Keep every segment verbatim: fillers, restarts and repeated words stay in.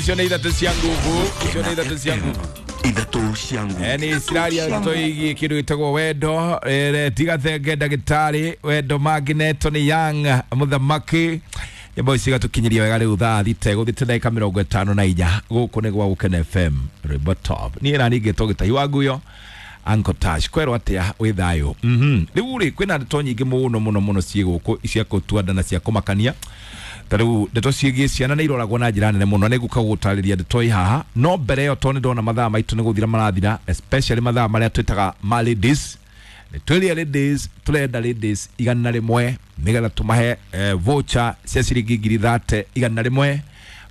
Icio nä ithatå cia nguvu, icio nä ithatå cia nguvu. Ithatå cia nguvu. Ni ciraria ndeto igie kindu gitagwo wendo. eh, tiga thenge ndagitari wendo magneto ni yang muthamaki nyambo ici gatukinyiria wega. Riu thaa thita iguthiite ndagika mirongo itano na inya, guku ni gwa Gukena F M, rwimbo top. Niĩ na ningĩ gĩtahi wa nguyo Uncle Tash kwerwo atia wĩ thayũ. mhm rĩu rĩ, kwĩna ndeto nyingĩ mũno mũno mũno ciĩ gũkũ cia kũtua nda na cia kũmakania. Ta rĩu ndeto ciĩgiĩ ciana nĩ iroragwo na njĩra nene mũno. Nĩ ngũka gũtarĩria ndeto ĩ haha, no mbere ĩyo, tondũ nĩ ndona mathaa maitũ nĩ gũthira marathira, especially mathaa marĩa twĩtaga ma ladies, nĩ twĩrĩa ladies tũrenda ladies igana rĩmwe nĩgetha tũmahe eh, voucher cia ciringi ngiri thate igana rĩmwe.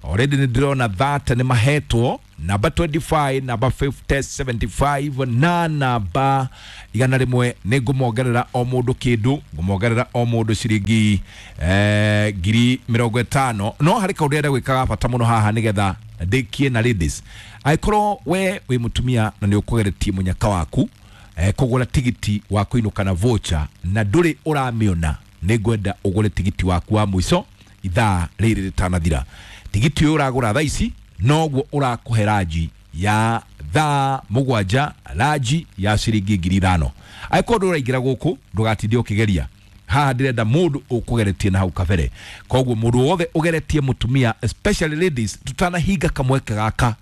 Already nĩ ndĩrona thate nĩ mahetwo, namba mĩrongo ĩrĩ na ithano, namba mĩrongo ĩnane, mĩrongo mũgwanja na namba igana rĩmwe. Nĩ ngũmongerera o mũndũ kĩndũ, ngũmongerera o mũndũ ciringi eh, ngiri mĩrongo ĩtano. No harĩ kaũndũ ndĩrenda gwĩka ga bata mũno haha nĩgetha ndĩkie na ladies. Angĩkorwo we wĩ mũtumia na nĩ ũkũgeretie mũnyaka waku eh, kũgũra tigiti wa kũinũka na voucher na ndũrĩ ũramĩona, nĩ ngwenda ũgũre tigiti waku wa mũico ithaa rĩrĩ rĩtanathira. Tigiti ũyũ ũragũra thaa ici noguo ũrakũhe ranji ya thaa mũgwanja, ranji ya ciringi ngiri ithano. Angĩkorwo ndũraingĩra gũkũ, ndũgatinde ũkĩgeria haha. Ndĩrenda mũndũ ũkũgeretie na hau kabere. Koguo mũndũ wothe ũgeretie mũtumia, especially ladies, tutanahinga kamweke gaka,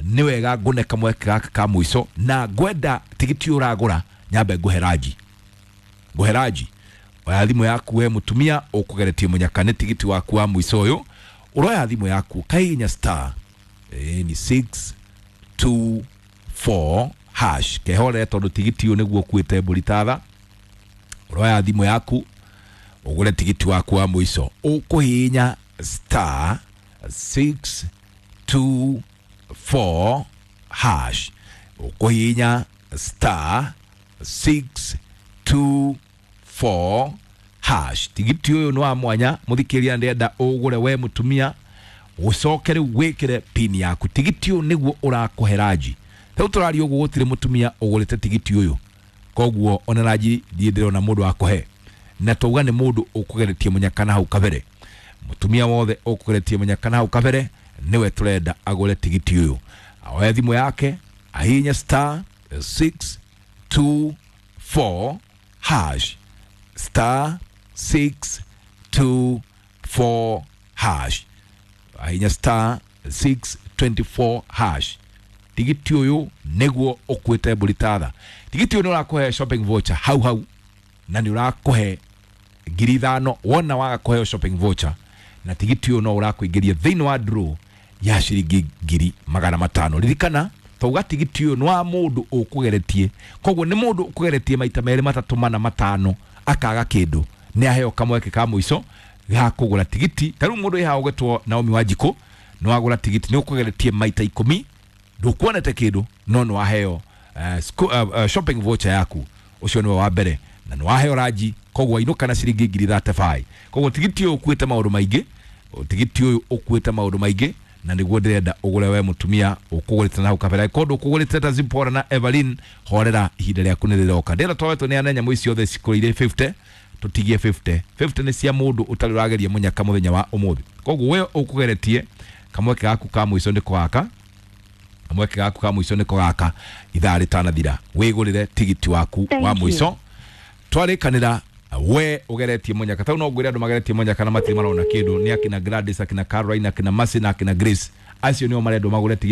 nĩ wega ngũne kamweke gaka ka mũico, na ngwenda tigiti ũyũ ũragũra nyambe ngũhe ranji, ngũhe ranji. Oya thimũ yaku we mũtumia ũkũgeretie mũnyaka, nĩ tigiti waku wa mũico ũyũ. Ũroya thimũ yaku kahihinya star ĩ ni six two four hash. Kehore tondũ tigiti ũyũ nĩguo ũkuĩte mbũri tatha. Ũroya thimũ yaku ũgũre tigiti waku wa mũico, ũkũhihinya star six two four hash, ũkũhihinya star six two four hash. Tigiti ũyũ nĩ wa mwanya, mũthikĩria, ndĩrenda ũgũre we mũtumia, ũcoke rĩu wĩkĩre pin yaku. Tigiti ũyũ nĩguo ũrakũhe ranji. Rĩu tũraria ũguo gũtirĩ mũtumia ũgũrĩte tigiti ũyũ, koguo ona ranji ndiĩ ndĩrona mũndũ akũhe. Na tauga nĩ mũndũ ũkũgeretie mũnyaka na hau kabere. Mũtumia wothe ũkũgeretie mũnyaka na hau kabere nĩwe tũrenda agũre tigiti ũyũ. Aoe thimũ yake ahihinye star six two four hash, star six two four hash, ahinya star six two four hash. Tigiti ũyũ nĩguo ũkuĩte mbũri tatha. Tigiti ũyũ nĩ ũrakũhe shopping voucher hau hau na nĩ ũrakũhe ngiri ithano. Wona waga kũheo shopping voucher na tigiti ũyũ, no ũrakũingĩria thĩinĩ wa draw ya ciringi ngiri magana matano. Ririkana tauga tigiti ũyũ nĩ wa mũndũ ũkũgeretie, koguo nĩ mũndũ ũkũgeretie maita merĩ, matatũ, mana, matano akaga kĩndũ, nĩ aheo kamweke ka mũico ga kũgũra tigiti. Ta rĩu mũndũ ĩhaha ũgetwo Naomi Wanjikũ, nĩ wagũra tigiti, nĩ ũkũgeretie maita ikũmi, ndũkuonete kĩndũ, no nĩ waheo uh, sco- uh, uh, shopping voucher yaku. Ũcio nĩwe wa mbere na nĩ waheo ranji, koguo ainũka na ciringi ngiri thate bai. Koguo tigiti ũyũ ũkuĩte maũndũ maingĩ, tigiti ũyũ ũkuĩte maũndũ maingĩ, na nĩguo ndĩrenda ũgũre we mũtumia ũkũgũrĩte na hau kabere. Kondo ũkũgũrĩte ta Zipporah na Evelyn, horera, ihinda rĩaku nĩ rĩroka. Ndĩrenda twawetwo nĩ ane nyamũ ici ciothe cikũrĩire mĩrongo ĩnana, tũtigie mĩrongo ĩnana. mĩrongo ĩnana nĩ cia mũndũ ũtarĩ ũrageria mũnyaka mũthenya wa ũmũthĩ. Koguo we ũkũgeretie, kamweke gaku ka mũico nĩko gaka, kamweke gaku ka mũico nĩko gaka. Ithaa rĩtanathira wĩgũrĩre tigiti waku Thank wa you. mũico. Twarĩkanĩra we ũgeretie mũnyaka tau, no ngwĩre andũ mageretie mũnyaka na matirĩ marona kĩndũ nĩ akina Gladys, akina Caroline, akina Mercy na akina Grace. Acio nĩo marendwo magũre tigiti.